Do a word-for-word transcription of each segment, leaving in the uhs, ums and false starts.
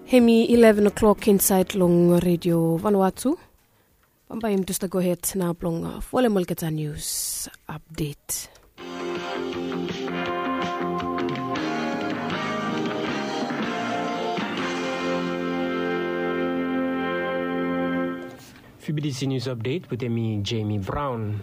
Hemi eleven o'clock insaed long redio Vanuatu. Bambae yumi tu stap gohed nao blong folem olgeta nius apdet. Fibidisi nius apdet wetem mi, Jemi Braon.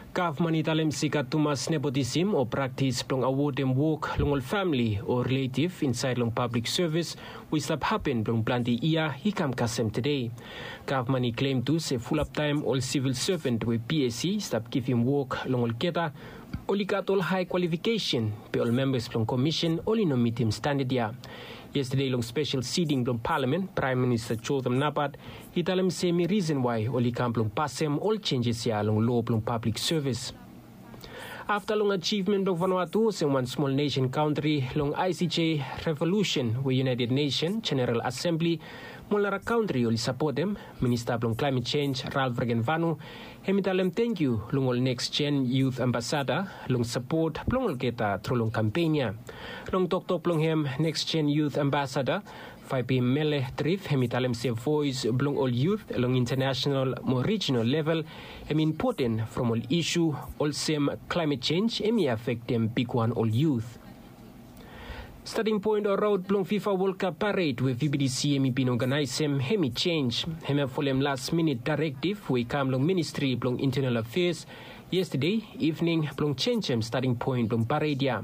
Gavman i talem se i gat tumas nepotisim o praktis blong awodem wok long ol famili o riletiv insaed long pablik sevis we i stap hapen blong plante yia i kam kasem tede. Gavman i klem tu se fulap taem ol sivil seven we psc i stap givim wok long olgeta oli gat ol hae kwalifikesen, be ol membas blong komisen oli no mitim standad ya. Yestade long spesel siting blong palamen, praem minista jotham nabaot i talem se hemi risen wae oli kam blong pasem ol jenjes ya long loa blong pablik sevis. Afta long ajivmen blong Vanuatu olsem wan smol nesen kantri long icj revolusen we united nesen jeneral asembli mo ol nara kantri oli sapotem, minista blong klaemet jenj ralf regenvanu hem i talem tengkiu long ol neks jen yut ambasada long sapot blong olgeta tru long kampen ya. Long toktok blong hem, neks jen yut ambasada faepi mele trif hem i talem se voes blong ol yut long intanesenal mo rijinal level hem i impoten from ol isu olsem klaemet jenj hem i afektem bigwan ol yut. Stating poen o raot blong fifa wolkap pared we vbdc hem i bin oganaesem hem i jenj. Hem ya folem las minit daerektiv we i kam long ministri blong intenal afeas yestade ivning blong jenjem stating poen blong pared ya.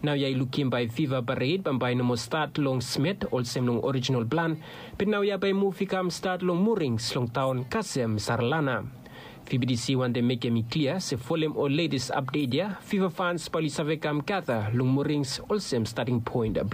Naoia i lukim bae fiva pared bambae i no moa stat long smet olsem long orijinal plan, be naoia bae muv i kam stat long murings long taon kasem saralana. Vbdc wantem mekem i klia se folem ol letes apdet ya fiva fans bae oli save kam gata long murings olsem stating poen blong